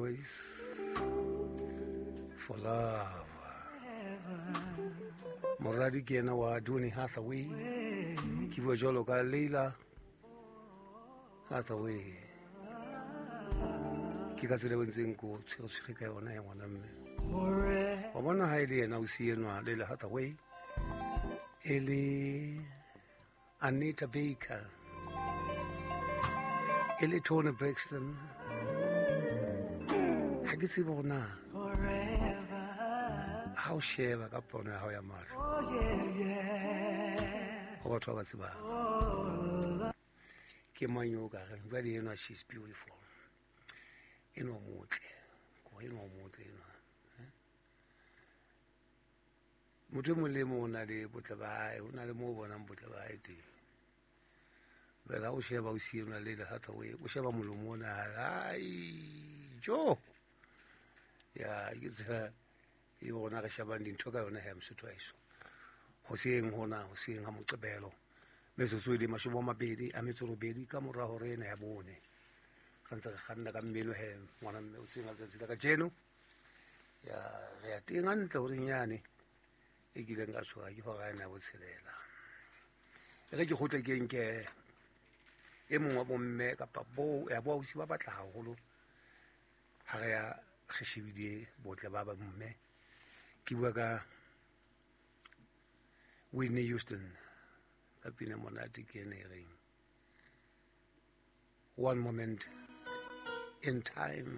Always for Love. Moradi ke yena wa Donny Hathaway, ke bua jwalo ka Leila Hathaway. Ke ka tsela e ntseng ko tshwere ka yona ya ngwana mme. Wa bona ha e le yena o si enwa Leila Hathaway, e le Anita Baker, e le Toni Braxton. Ha ke tsebe hore na ha o sheba ka pono ya hao ya mahlo ho batho ba ba tsebang ke mang yo o ka reng jwale enwa, she's beautiful, enwa o motle, kore enwa o motle enwa. Motho e mong le e mong o na le botle ba hae, o na le moo o bonang botle ba hae teng. Jwale ha o sheba o sienwa le Hathaway, o sheba molomo ona, ai jo ya ke tsela e rona re shebang dintho ka yona he Mosotho wa heso. Hoseng hona, hoseng ha Moqebelo, metsotso e le 28 ka mora hora ena ya 4, re ntse re kganna ka mmino he ngwana mme hoseng ha letsatsi la kajeno. Ya re ya teng hantle horeng yane e kileng ka tshoga ke hora ena ya 6. E re ke kgutle ke nke e mong wa bomme kapa bo ya bo ausi ba batla haholo ha re ya re shebile botle ba ba mme. Ke bua ka Whitney Houston ka pina monate ke ene e reng One Moment in Time.